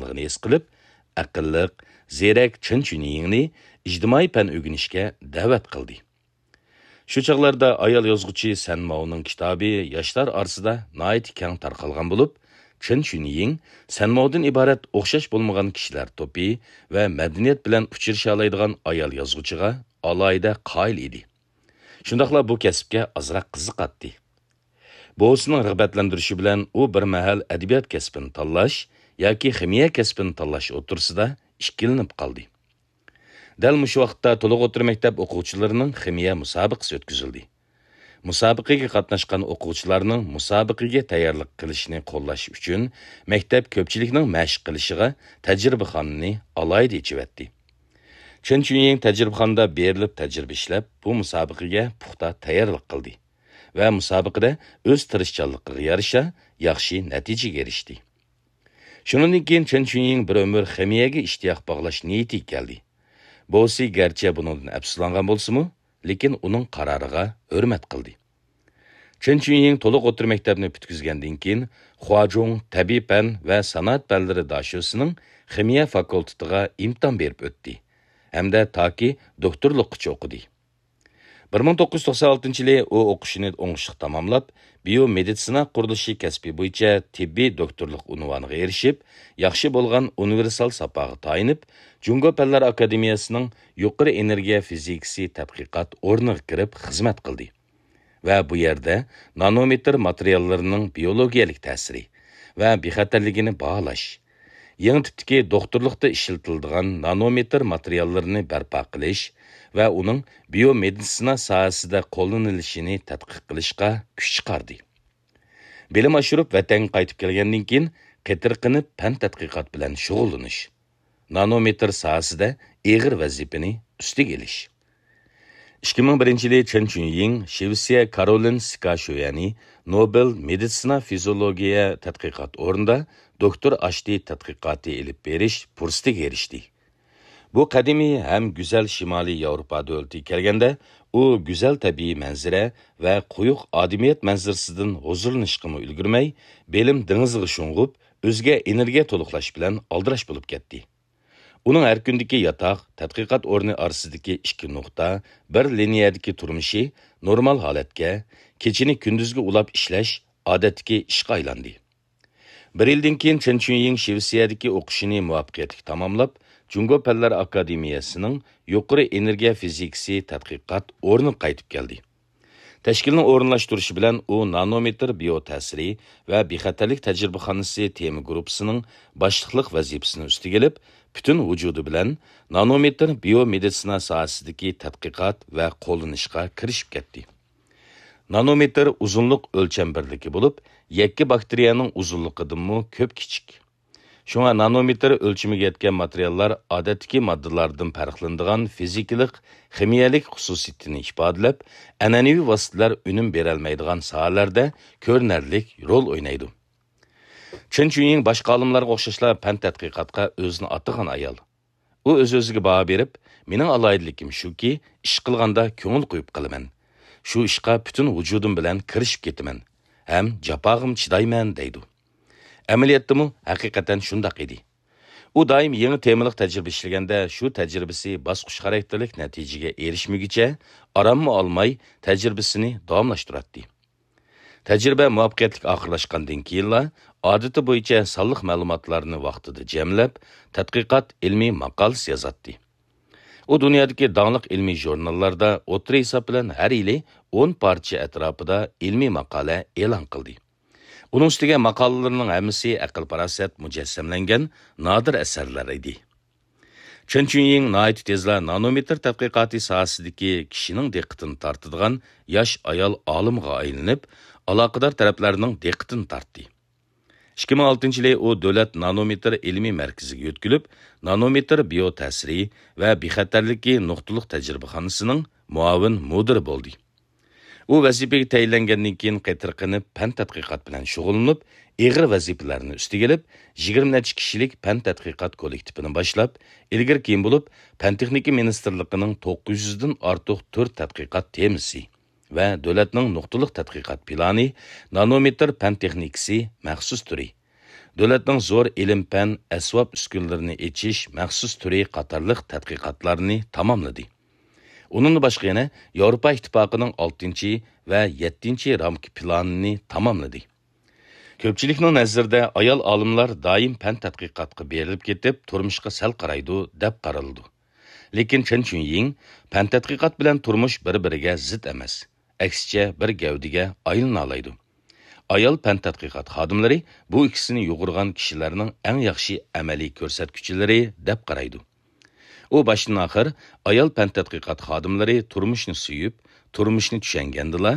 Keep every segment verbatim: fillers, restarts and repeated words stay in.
بولغانلىقىنى ھېس قىلىپ، ئەقىللىق، زېرەك چېن چۈنيىڭنى ئىجتىمائىي پەن ئۆگىنىشكە دەۋەت قىلدى. شۇ چاغلاردا ئايال يازغۇچى سەن ماۋنىڭ كىتابى ياشلار ئارىسىدا ناھايىتى كەڭ تارقالغان بولۇپ، چېن چۈنيىڭ سەن ماۋدىن ئىبارەت ئوخشاش بولمىغان كىشىلەر توپى ۋە مەدەنىيەت بىلەن ئۇچرىشالايدىغان ئايال يازغۇچىغا ئالاھىدە قايىل ئىدى. شۇنداقلا بۇ كەسىپكە ئازراق قىزىقاتتى. بوۋىسىنىڭ رىغبەتلەندۈرۈشى بىلەن ئۇ بىر مەھەل ئەدەبىيات كەسپىنى تاللاش ياكى خىمىيە كەسپىنى تاللاش ئوتتۇرىسىدا ئىككىلىنىپ قالدى. دەل مۇشۇ ۋاقىتتا تولۇق ئوتتۇرا مەكتەپ ئوقۇغۇچىلىرىنىڭ خىمىيە مۇسابىقىسى ئۆتكۈزۈلدى. مۇسابىقىگە قاتناشقان ئوقۇغۇچىلارنىڭ مۇسابىقىگە تەييارلىق قىلىشىنى قوللاش ئۈچۈن، مەكتەپ كۆپچىلىكنىڭ مەشىق قىلىشىغا تەجرىبىخانىنى ئالاھىدە ئېچىۋەتتى. چېن چۈنيىڭ تەجرىبىخانىدا بېرىلىپ تەجرىبە ئىشلەپ، بۇ مۇسابىقىگە پۇختا تەييارلىق قىلدى ۋە مۇسابىقىدە ئۆز تىرىشچانلىقىغا يارىشا ياخشى نەتىجىگە ئېرىشتى. شۇنىڭدىن كېيىن چېن چۈنيىڭ بىر ئۆمۈر خىمىيەگە ئىشتىياق باغلاش نىيىتىگە كەلدى. بوۋىسى گەرچە بۇنىڭدىن ئەپسۇسلانغان بولسىمۇ، لېكىن ئۇنىڭ قارارىغا ھۆرمەت قىلدى. چېن چۈنيىڭ تولۇق ئوتتۇرا مەكتەپنى پۈتكۈزگەندىن كېيىن، خۇاجۇڭ تەبىئىي پەن ۋە سانائەت پەنلىرى داشۆسىنىڭ خىمىيە فاكۇلتېتىغا ئىمتىھان بېرىپ ئۆتتى ھەمدە تاكى دوكتورلۇققىچە ئوقۇدى. بىر مىڭ توققۇز يۈز توقسان ئالتىنچى يىلى ئۇ ئوقۇشىنى ئوڭۇشلۇق تاماملاپ، بىيومېدىتسىنا قۇرۇلۇشى كەسپى بويىچە تېببىي دوكتورلۇق ئۇنۋانىغا ئېرىشىپ، ياخشى بولغان ئۇنىۋېرسال ساپاغا تايىنىپ، جۇڭگو پەنلەر ئاكادېمىيەسىنىڭ يۇقىرى ئېنېرگىيە فىزىكىسى تەتقىقات ئورنىغا كىرىپ خىزمەت قىلدى ۋە بۇ يەردە نانومېتىر ماتېرىياللىرىنىڭ بىيولوگىيەلىك تەسىرى ۋە بىخەتەرلىكىنى باھالاش، يېڭى تىپتىكى دوختۇرلۇقتا ئىشلىتىلىدىغان نانومېتىر ماتېرىياللىرىنى بەرپا قىلىش ۋە ئۇنىڭ بىيومېدىتسىنا ساھەسىدە قوللىنىلىشىنى تەتقىق قىلىشقا كۈچ چىقاردى. بىلىم ئاشۇرۇپ ۋەتەنگە قايتىپ كەلگەندىن كېيىن، قېتىرقىنىپ پەن تەتقىقات بىلەن شۇغۇللىنىش، نانومېتىر ساھەسىدە ئېغىر ۋەزىپىنى ئۈستىگە ئېلىش. ئىككى مىڭ بىرىنچى يىلى چېن چۈنيىڭ شىۋېتسىيە كارولىن سىكا شۆيەنى نوبېل مېدىتسىنا فىزىولوگىيە تەتقىقات ئورنىدا دوكتور ئاشتى تەتقىقاتى ئېلىپ بېرىش پۇرسىتىگە ئېرىشتى. بۇ قەدىمىي ھەم گۈزەل شىمالىي ياۋروپا دۆلىتىگە كەلگەندە، ئۇ گۈزەل تەبىئىي مەنزىرە ۋە قويۇق ئادىمىيەت مەنزىرىسىدىن ھۇزۇرلىنىشقىمۇ ئۈلگۈرمەي، بىلىم دېڭىزىغا شۇڭغۇپ، ئۆزىگە ئېنېرگىيە تولۇقلاش بىلەن ئالدىراش بولۇپ كەتتى. ئۇنىڭ ھەر كۈندىكى ياتاق، تەتقىقات ئورنى ئارىسىدىكى ئىككى نۇقتا، بىر لىنىيەدىكى تۇرمۇشى نورمال ھالەتكە، كېچىنى كۈندۈزگە ئۇلاپ ئىشلەش ئادەتتىكى ئىشقا ئايلاندى. بىر يىلدىن كېيىن چېن چۈنيىڭ شىۋېتسىيەدىكى ئوقۇشىنى مۇۋەپپەقىيەتلىك تاماملاپ، جۇڭگو پەنلەر ئاكادېمىيەسىنىڭ يۇقىرى ئېنېرگىيە فىزىكىسى تەتقىقات ئورنىغا قايتىپ كەلدى. تەشكىلنىڭ ئورۇنلاشتۇرۇشى بىلەن ئۇ نانومېتىر بىيو تەسىرى ۋە بىخەتەرلىك تەجرىبىخانىسى تېما گۇرۇپپىسىنىڭ باشلىقلىق ۋەزىپىسىنى ئۈستىگە ئېلىپ، پۈتۈن ۋۇجۇدى بىلەن نانومېتىر بىيو مېدىتسىنا ساھەسىدىكى تەتقىقات ۋە قوللىنىشقا كىرىشىپ كەتتى. نانومېتىر ئۇزۇنلۇق ئۆلچەم بىرلىكى بولۇپ، يەككە باكتېرىيەنىڭ ئۇزۇنلۇقىدىنمۇ كۆپ كىچىك. شۇڭا نانومېتىر ئۆلچىمىگە يەتكەن ماتېرىياللار ئادەتتىكى ماددىلاردىن پەرقلىنىدىغان فىزىكىلىق، خىمىيەلىك خۇسۇسىيىتىنى ئىپادىلەپ، ئەنئەنىۋى ۋاسىتىلەر ئۈنۈم بېرەلمەيدىغان ساھەلەردە كۆرۈنەرلىك رول ئوينايدۇ. چېن چۈنيىڭ باشقا ئالىملارغا ئوخشاشلا پەن تەتقىقاتقا ئۆزىنى ئاتىغان ئايال. ئۇ ئۆز-ئۆزىگە باھا بېرىپ، مېنىڭ ئالاھىدىلىكىم شۇكى، ئىش قىلغاندا كۆڭۈل قويۇپ قىلىمەن. شۇ ئىشقا پۈتۈن ۋۇجۇدۇم بىلەن كىرىشىپ كېتىمەن ھەم جاپاغىمۇ چىدايمەن، دەيدۇ. ئەمەلىيەتتىمۇ ھەقىقەتەن شۇنداق ئىدى. ئۇ دائىم يېڭى تېمىلىق تەجرىبە ئىشلىگەندە، شۇ تەجرىبىسى باسقۇچ خاراكتېرلىك نەتىجىگە ئېرىشمىگۈچە ئاراممۇ ئالماي تەجرىبىسىنى داۋاملاشتۇراتتى. تەجرىبە مۇۋەپپەقىيەتلىك ئاخىرلاشقاندىن كېيىنلا، ئادىتى بويىچە سانلىق مەلۇماتلارنى ۋاقتىدا جەملەپ، تەتقىقات ئىلمىي ماقالىسى يازاتتى. ئۇ دۇنيادىكى داڭلىق ئىلمىي ژۇرناللاردا ئوتتۇرا ھېساب بىلەن ھەر يىلى ئون پارچە ئەتراپىدا ئىلمىي ماقالە ئېلان قىلدى. ئۇنىڭ ئۈستىگە ماقالىلىرىنىڭ ھەممىسى ئەقىل-پاراسەت مۇجەسسەملەنگەن نادىر ئەسەرلەر ئىدى. چېن چۈنيىڭ ناھايىتى تېزلا نانومېتىر تەتقىقاتى ساھەسىدىكى كىشىنىڭ دىققىتىنى تارتىدىغان ياش ئايال ئالىمغا ئايلىنىپ، ئالاقىدار تەرەپلەرنىڭ دىققىتىنى تارتتى. ئىككى مىڭ ئالتىنچى يىلى ئۇ دۆلەت نانومېتىر ئىلمىي مەركىزىگە يۆتكىلىپ، نانومېتىر بىيو تەسىرى ۋە بىخەتەرلىكى نۇقتىلىق تەجرىبىخانىسىنىڭ مۇئاۋىن مۇدىرى بولدى. ئۇ ۋەزىپىگە تەيىنلەنگەندىن كېيىن قېتىرقىنىپ پەن تەتقىقات بىلەن شۇغۇللىنىپ، ئېغىر ۋەزىپىلەرنى ئۈستىگە ئېلىپ، يىگىرمە نەچچە كىشىلىك پەن تەتقىقات كوللېكتىپىنى باشلاپ، ئىلگىرى كېيىن بولۇپ، پەن تېخنىكا مىنىستىرلىقىنىڭ توققۇز يۈزدىن ئارتۇق تۈر تەتقىقات تېمىسى ۋە دۆلەتنىڭ نۇقتىلىق تەتقىقات پىلانى، نانومېتىر پەن تېخنىكىسى مەخسۇس تۈرى، دۆلەتنىڭ زور ئىلىم-پەن، ئەسۋاب-ئۈسكۈنىلىرىنى ئېچىش مەخسۇس تۈرى قاتارلىق تەتقىقاتلارنى تاماملىدى. ئۇنىڭدىن باشقا يەنە ياۋروپا ئىتتىپاقىنىڭ ئالتىنچى ۋە يەتتىنچى رامكا پىلانىنى تاماملىدى. كۆپچىلىكنىڭ نەزىرىدە ئايال ئالىملار دائىم پەن تەتقىقاتقا بېرىلىپ كېتىپ، تۇرمۇشقا سەل قارايدۇ، دەپ قارىلىدۇ. لېكىن چېن چۈنيىڭ، پەن تەتقىقات بىلەن تۇرمۇش بىر-بىرىگە زىت ئەمەس، ئەكسىچە بىر گەۋدىگە ئايلىنالايدۇ. ئايال پەن تەتقىقات خادىملىرى بۇ ئىككىسىنى يۇغۇرغان كىشىلەرنىڭ ئەڭ ياخشى ئەمەلىي كۆرسەتكۈچىلىرى، دەپ قارايدۇ. ئۇ باشتىن-ئاخىر ئايال پەن تەتقىقات خادىملىرى تۇرمۇشنى سۆيۈپ، تۇرمۇشنى چۈشەنگەندىلا،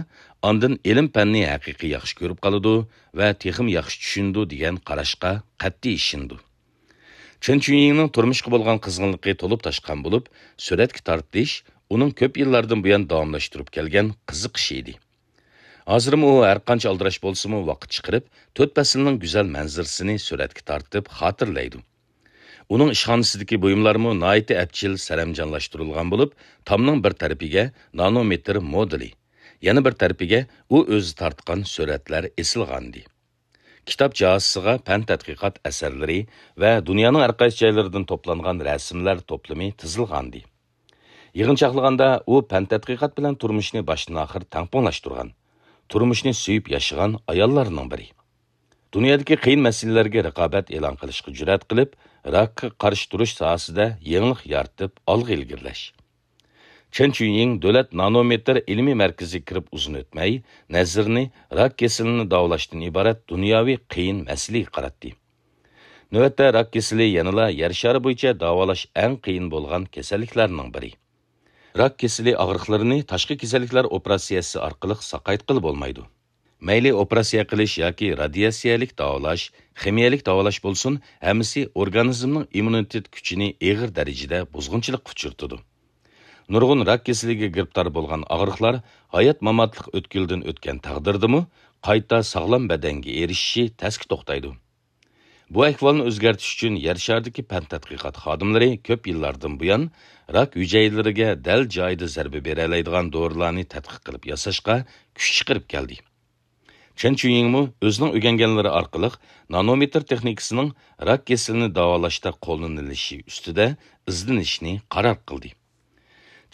ئاندىن ئىلىم-پەننى ھەقىقىي ياخشى كۆرۈپ قالىدۇ ۋە تېخىمۇ ياخشى چۈشىنىدۇ دېگەن قاراشقا قەتئىي ئىشىنىدۇ. چېن چۈنيىڭنىڭ تۇرمۇشقا بولغان قىزغىنلىقى تولۇپ تاشقان بولۇپ، سۈرەتكە تارتىش ئۇنىڭ كۆپ يىللاردىن بۇيان داۋاملاشتۇرۇپ كەلگەن قىزىقىشى ئىدى. ھازىرمۇ ئۇ ھەرقانچە ئالدىراش بولسىمۇ، ۋاقىت چىقىرىپ، تۆت پەسىلنىڭ گۈزەل مەنزىرىسىنى سۈرەتكە تارتىپ خاتىرىلەيدۇ. ئۇنىڭ ئىشخانىسىدىكى بۇيۇملارمۇ ناھايىتى ئەپچىل سەرەمجانلاشتۇرۇلغان بولۇپ، تامنىڭ بىر تەرىپىگە نانومېتىر مودېلى، يەنە بىر تەرىپىگە ئۇ ئۆزى تارتقان سۈرەتلەر ئېسىلغانىدى. كىتاب جاھازىسىغا پەن تەتقىقات ئەسەرلىرى ۋە دۇنيانىڭ ھەرقايسى جايلىرىدىن توپلانغان رەسىملەر توپلىمى تىزىلغانىدى. يىغىنچاقلىغاندا، ئۇ پەن تەتقىقات بىلەن تۇرمۇشنى باشتىن-ئاخىر تەڭپۇڭلاشتۇرغان، تۇرمۇشنى سۆيۈپ ياشىغان ئاياللارنىڭ بىرى. دۇنيادىكى قىيىن مەسىلىلەرگە رىقابەت ئېلان قىلىشقا جۈرئەت قىلىپ، راكقا قارشى تۇرۇش ساھەسىدە يېڭىلىق يارىتىپ، ئالغا ئىلگىرىلەش. چېن چۈنيىڭ دۆلەت نانومېتىر ئىلمىي مەركىزىگە كىرىپ ئۇزۇن ئۆتمەي، نەزىرىنى راك كېسىلىنى داۋالاشتىن ئىبارەت دۇنياۋى قىيىن مەسىلىگە قاراتتى. نۆۋەتتە راك كېسىلى يەنىلا يەر شارى بويىچە داۋالاش ئەڭ قىيىن بولغان كېسەللىكلەرنىڭ بىرى. راك كېسىلى ئاغرىقلىرىنى تاشقى كېسەللىكلەر ئوپېراتسىيەسى ئارقىلىق ساقايتقىلى بولمايدۇ. مەيلى ئوپېراتسىيە قىلىش ياكى رادىياتسىيەلىك داۋالاش، خىمىيەلىك داۋالاش بولسۇن، ھەممىسى ئورگانىزمنىڭ ئىممۇنىتېت كۈچىنى ئېغىر دەرىجىدە بۇزغۇنچىلىققا ئۇچرىتىدۇ. نۇرغۇن راك كېسىلىگە گىرىپتار بولغان ئاغرىقلار ھايات-ماماتلىق ئۆتكىلىدىن ئۆتكەن تەقدىردىمۇ قايتا ساغلام بەدەنگە ئېرىشىشى تەسكە توختايدۇ. بۇ ئەھۋالنى ئۆزگەرتىش ئۈچۈن يەر شارىدىكى پەن تەتقىقات خادىملىرى كۆپ يىللاردىن بۇيان راك ھۈجەيرىلىرىگە دەل جايىدا زەربە بېرەلەيدىغان دورىلارنى تەتقىق قىلىپ ياساشقا كۈچ چىقىرىپ كەلدى. چېن چۈنيىڭمۇ ئۆزىنىڭ ئۆگەنگەنلىرى ئارقىلىق نانومېتىر تېخنىكىسىنىڭ راك كېسىلىنى داۋالاشتا قوللىنىلىشى ئۈستىدە ئىزدىنىشنى قارار قىلدى.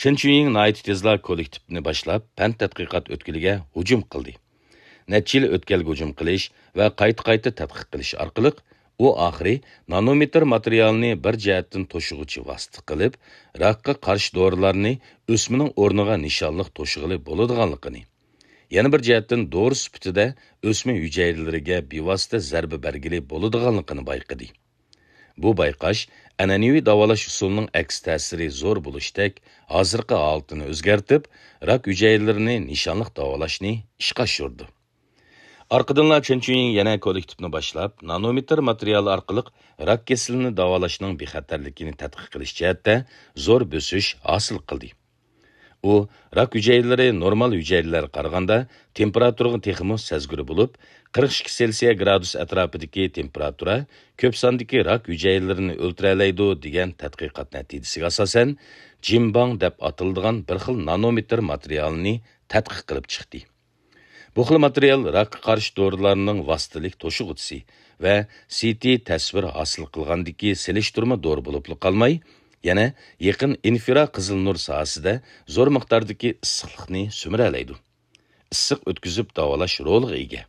چېن چۈنيىڭ ناھايىتى تېزلا كوللېكتىپنى باشلاپ، پەن تەتقىقات ئۆتكىلىگە ھۇجۇم قىلدى. نەچچە يىل ئۆتكەلگە ھۇجۇم قىلىش ۋە قايتا-قايتا تەتقىق قىلىش ئارقىلىق، ئۇ ئاخىرى نانومېتىر ماتېرىيالنى بىر جەھەتتىن توشۇغۇچى ۋاسىتە قىلىپ، راكقا قارشى دورىلارنى ئۆسمىنىڭ ئورنىغا نىشانلىق توشۇغىلى بولىدىغانلىقىنى، يەنە بىر جەھەتتىن دورا سۈپىتىدە ئۆسمە ھۈجەيرىلىرىگە بىۋاسىتە زەربە بەرگىلى بولىدىغانلىقىنى بايقىدى. بۇ بايقاش ئەنئەنىۋى داۋالاش ئۇسۇلىنىڭ ئەكس تەسىرى زور بولۇشتەك ھازىرقى ھالىتىنى ئۆزگەرتىپ، راك ھۈجەيرىلىرىنى نىشانلىق داۋالاشنى ئىشقا ئاشۇردى. ئارقىدىنلا چېن چۈنيىڭ يەنە كوللېكتىپنى باشلاپ، نانومېتىر ماتېرىيالى ئارقىلىق راك كېسىلىنى داۋالاشنىڭ بىخەتەرلىكىنى تەتقىق قىلىش جەھەتتە زور بۆسۈش ھاسىل قىلدى. ئۇ راك ھۈجەيرىلىرى نورمال ھۈجەيرىلەرگە قارىغاندا تېمپېراتۇرىغا تېخىمۇ سەزگۈر بولۇپ، قىرىق ئىككى سېلسىيە گرادۇس ئەتراپىدىكى تېمپېراتۇرا كۆپ ساندىكى راك ھۈجەيرىلىرىنى ئۆلتۈرەلەيدۇ، دېگەن تەتقىقات نەتىجىسىگە ئاساسەن، جىنباڭ دەپ ئاتىلىدىغان بىر خىل نانومېتىر ماتېرىيالىنى تەتقىق قىلىپ چىقتى. بۇ خىل ماتېرىيال راكقا قارشى دورىلارنىڭ ۋاسىتىلىك توشۇغۇچىسى ۋە سىتى تەسۋىر ھاسىل قىلغاندىكى سېلىشتۇرما دورا بولۇپلا قالماي، يەنە يېقىن ئىنفرا قىزىل نۇر ساھەسىدە زور مىقداردىكى ئىسسىقلىقنى سۈمۈرەلەيدۇ. ئىسسىق ئۆتكۈزۈپ داۋالاش رولىغا ئىگە.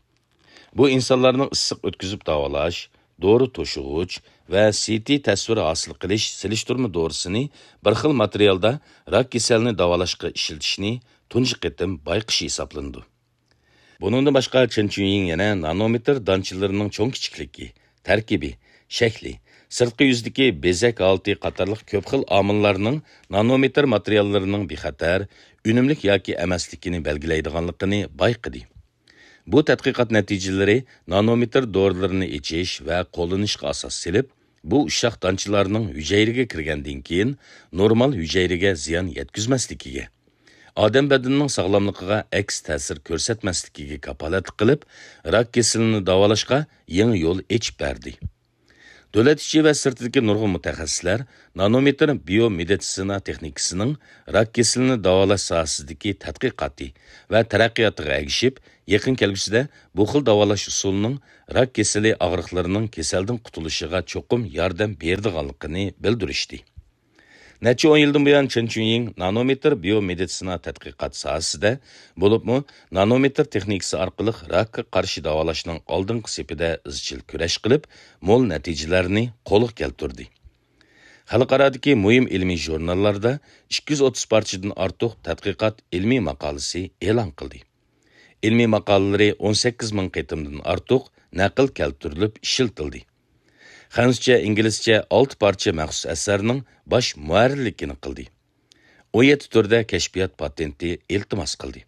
بۇ ئىنسانلارنىڭ ئىسسىق ئۆتكۈزۈپ داۋالاش، دورا توشۇغۇچ ۋە سىتى تەسۋىر ھاسىل قىلىش سېلىشتۇرما دورىسىنى بىر خىل ماتېرىيالدا راك كېسەلنى داۋالاشقا ئىشلىتىشنى تۇنجى قېتىم بايقىشى ھېسابلىنىدۇ. بۇنىڭدىن باشقا، چېن چۈنيىڭ يەنە نانومېتىر دانچىلىرىنىڭ چوڭ-كىچىكلىكى، تەركىبى، شەكلى، سىرتقى يۈزدىكى بېزەك ھالىتى قاتارلىق كۆپ خىل ئامىللارنىڭ نانومېتىر ماتېرىياللىرىنىڭ بىخەتەر، ئۈنۈملۈك ياكى ئەمەسلىكىنى بەلگىلەيدىغانلىقىنى بايقىدى. بۇ تەتقىقات نەتىجىلىرى نانومېتىر دورىلىرىنى ئېچىش ۋە قوللىنىشقا ئاساس سېلىپ، بۇ ئۇششاق دانچىلارنىڭ ھۈجەيرىگە كىرگەندىن كېيىن نورمال ھۈجەيرىگە زىيان يەتكۈزمەسلىكىگە، ئادەم بەدىنىنىڭ ساغلاملىقىغا ئەكس تەسىر كۆرسەتمەسلىكىگە كاپالەتلىك قىلىپ، راك كېسىلىنى داۋالاشقا يېڭى يول ئېچىپ بەردى. دۆلەت ئىچى ۋە سىرتىدىكى نۇرغۇن مۇتەخەسسىسلەر نانومېتىر بىيومېدىتسىنا تېخنىكىسىنىڭ راك كېسىلىنى داۋالاش ساھەسىدىكى تەتقىقاتى ۋە تەرەققىياتىغا ئەگىشىپ، يېقىن كەلگۈسىدە بۇ خىل داۋالاش ئۇسۇلىنىڭ راك كېسىلى ئاغرىقلىرىنىڭ كېسەلدىن قۇتۇلۇشىغا چوقۇم ياردەم بېرىدىغانلىقىنى بىلدۈرۈشتى. نەچچە ئون يىلدىن بۇيان چېن چۈنيىڭ نانومېتىر بىيومېدىتسىنا تەتقىقات ساھەسىدە، بولۇپمۇ نانومېتىر تېخنىكىسى ئارقىلىق راكقا قارشى داۋالاشنىڭ ئالدىنقى سېپىدە ئىزچىل كۈرەش قىلىپ، مول نەتىجىلەرنى قولغا كەلتۈردى. خەلقئارادىكى مۇھىم ئىلمىي ژۇرناللاردا ئىككى يۈز ئوتتۇز پارچىدىن ئارتۇق تەتقىقات ئىلمىي ماقالىسى ئېلان قىلدى. ئىلمىي ماقالىلىرى ئون سەككىز مىڭ قېتىمدىن ئارتۇق نەقىل كەلتۈرۈلۈپ ئىشلىتىلدى. خەنزۇچە، ئىنگلىزچە ئالتە پارچە مەخسۇس ئەسەرنىڭ باش مۇھەررىرلىكىنى قىلدى. ئون يەتتە تۈردە كەشپىيات پاتېنتى ئىلتىماس قىلدى.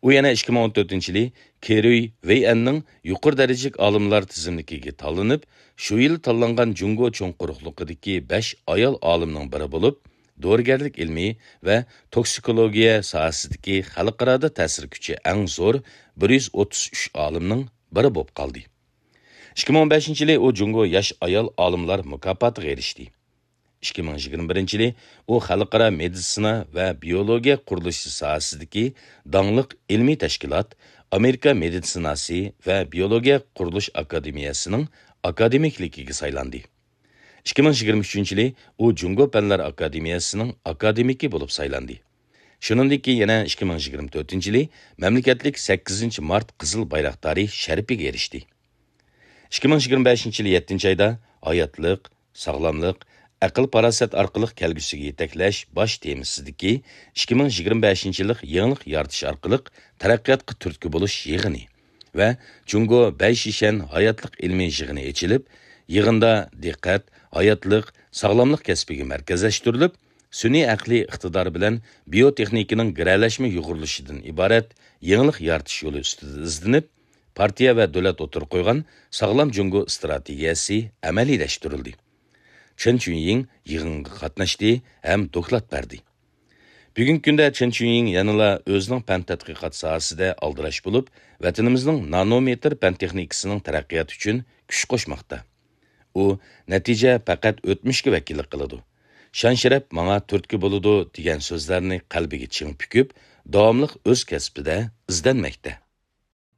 ئۇ يەنە ئىككى مىڭ ئون تۆتىنچى يىلى كېرۈي ۋېيئەننىڭ يۇقىرى دەرىجىلىك ئالىملار تىزىملىكىگە تاللىنىپ، شۇ يىل تاللانغان جۇڭگو چوڭ قۇرۇقلۇقىدىكى بەش ئايال ئالىمنىڭ بىرى بولۇپ، دورىگەرلىك ئىلمى ۋە توكسىكولوگىيە ساھەسىدىكى خەلقئارادا تەسىر كۈچى ئەڭ زور بىر يۈز ئوتتۇز ئۈچ ئالىمنىڭ بىرى بولۇپ قالدى. ئىككى مىڭ ئون بەشىنچى يىلى ئۇ جۇڭگو ياش ئايال ئالىملار مۇكاپاتىغا ئېرىشتى. ئىككى مىڭ يىگىرمە بىرىنچى يىلى ئۇ خەلقئارا مېدىتسىنا ۋە بىيولوگىيە قۇرۇلۇشى ساھەسىدىكى داڭلىق ئىلمىي تەشكىلات، ئامېرىكا مېدىتسىناسى ۋە بىيولوگىيە قۇرۇلۇش ئاكادېمىيەسىنىڭ ئاكادېمىكلىكىگە سايلاندى. ئىككى مىڭ يىگىرمە ئۈچىنچى يىلى ئۇ جۇڭگو پەنلەر ئاكادېمىيەسىنىڭ ئاكادېمىكى بولۇپ سايلاندى. شۇنىڭدىن كېيىن يەنە ئىككى مىڭ يىگىرمە تۆتىنچى يىلى مەملىكەتلىك سەككىزىنچى مارت قىزىل بايراقدارى شەرىپىگە ئېرىشتى. ئىككى مىڭ يىگىرمە بەشىنچى يىلى يەتتىنچى ئايدا ھاياتلىق، ساغلاملىق، ئەقىل-پاراسەت ئارقىلىق كەلگۈسىگە يېتەكلەش باش تېمىسىدىكى ئىككى مىڭ يىگىرمە بەشىنچى يىللىق يېڭىلىق يارىتىش ئارقىلىق تەرەققىياتقا تۈرتكە بولۇش يىغىنى ۋە جۇڭگو بەيشىشەن ھاياتلىق ئىلمىي يىغىنى ئېچىلىپ، يىغىندا دىققەت ھاياتلىق، ساغلاملىق كەسپىگە مەركەزلەشتۈرۈلۈپ، سۈنئىي ئەقلىي ئىقتىدار بىلەن بىيوتېخنىكىنىڭ گىرەلەشمە يۇغۇرۇلۇشىدىن ئىبارەت يېڭىلىق يارىتىش يولى ئۈستىدە ئىزدىنىپ، پارتىيە ۋە دۆلەت ئوتتۇرىغا قويغان ساغلام جۇڭگو ئىستراتېگىيەسى ئەمەلىيلەشتۈرۈلدى. چېن چۈنيىڭ يىغىنغا قاتناشتى ھەم دوكلات بەردى. بۈگۈنكى كۈندە چېن چۈنيىڭ يەنىلا ئۆزىنىڭ پەن تەتقىقات ساھەسىدە ئالدىراش بولۇپ، ۋەتىنىمىزنىڭ نانومېتىر پەن تېخنىكىسىنىڭ تەرەققىياتى ئۈچۈن كۈچ قوشماقتا. ئۇ نەتىجە پەقەت ئۆتمۈشكە ۋەكىللىك قىلىدۇ، شان-شەرەپ ماڭا تۈرتكە بولىدۇ دېگەن سۆزلەرنى قەلبىگە چىڭ پۈكۈپ، داۋاملىق ئۆز كەسپىدە ئىزدەنمەكتە.